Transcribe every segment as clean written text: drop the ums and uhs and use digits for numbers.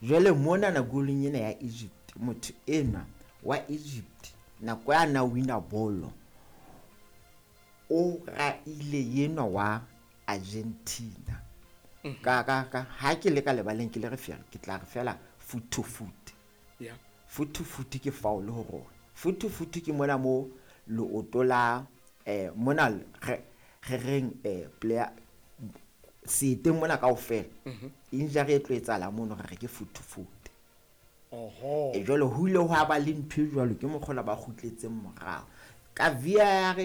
Jwale monana golong ena ya Egypt, motho enwa wa Egypt nako ya na wina bolo, o raile yenwa wa Argentina. Ka ha ke le ka lebaleng, ke le referee, ke tla re fela foot to foot. Foot to foot ke foul ho rona. Foot to foot ke mona mo leoto la mona re reng player seeteng mona kaofela, injury e tlo etsahala mono, re re ke foot to foot. E jwale ho ile hwa ba le ntho e jwalo, ke mokgola ba kgutletseng morao ka VAR.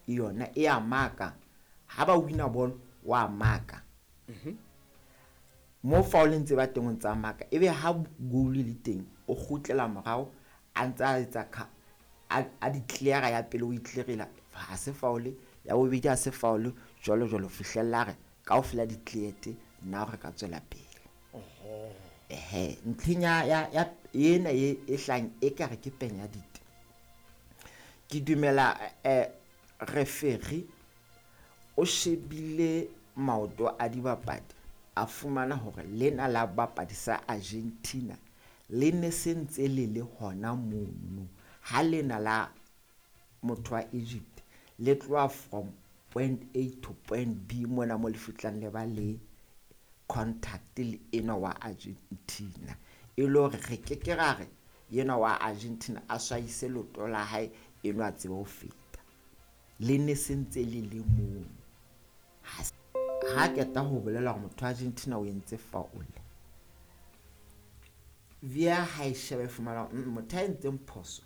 Yona e a maka ha ba wina bolo, wa maka mo foul ntse ba teng, o ntsa maka, ebe ha goal le teng o kgutlela morao, a ntsa a etsa a di clear. Ya pele o e clearela, ha se foul. Ya bobedi ha se foul, jwalo jwalo, fihlella re kaofela di cleared. Nna re ka tswela pele. Ehe, ntlheng ya ena e hlang e ka re ke penya dite, ke dumela referee o shebile maoto a dibapadi, a fumana hore lena la bapadi sa Argentina le ne se ntse le le hona mono, ha lena la motho wa Egypt le tloha from point A to point B mona mo le fihlang le ba le contact le enwa wa Argentina, e le hore re ke ke ra re enwa wa Argentina a swaise leoto la hae, enwa a tsebe ho feta, le ne se ntse le le mono. Ha qeta ho bolela hore motho wa Argentina o entse foul, VAR ha e shebe, fumana motho a entseng phoso.